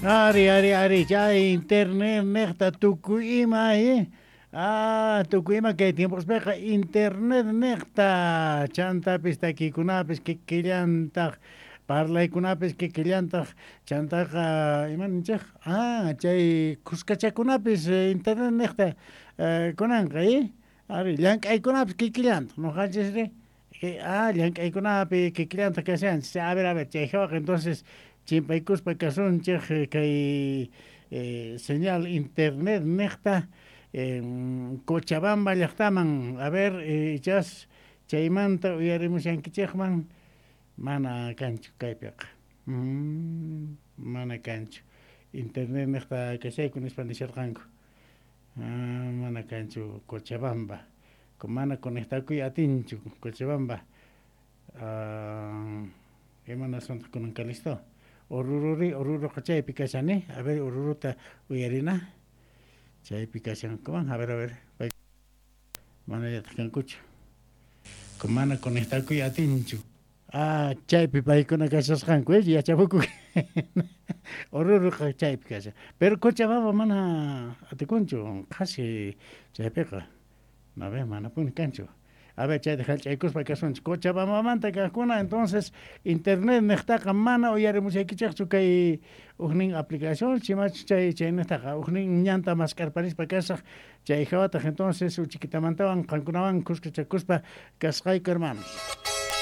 Ari, ari, ari, chay internet nejta tukuy ima, eh? Ah, tukuy ima kay tiempospeqa internet nejta chantapis takiykunapis kikillantaj parlaykunapis kikillantaj chantaqa ima ninchej ah chay khuskachakunapis internet nejta kunanqa eh ari llank'aykunapis kikillantaj noqanchisri ah llank'aykunapi kikillantaj kashanchis a ver a ver chay jawaqa entonces chimpaykuspa kasunchej kay señal internet nejta Cochabamba llajtaman a ver ichas chaymanta uyarimushankichejman mana kanchu kaypiqa mana kanchu internet nejta kashayku nispa nisharqanku mana kanchu Cochabamba mana conectakuy atinchu Cochabamba imanaswantaj kunanka listo Orururi Oruroqa chaypi kashan a ver Oruruta uyarina chaypi kashankuman a ver a ver manallataj kankuchu mana conectakuy atinchu ah chaypi paykuna kashasqanku yachapuku Oruroqa chaypi kashan pero Cochabamba mana atikunchu qhasi chaypiqa a ver manapuni kanchu a ver chayta jallch'aykuspa kasunchik Cochabambamanta kajkuna entonces internet nejtaqa mana uyarimushaykichejchu kay ujnin aplicación chimachu chay chaynejtaqa ujnin ñanta mask'arparispa kasaj chay jawataj entonces uchikitamantawan qankunawan khuskachakuspa kasqayku hermanos.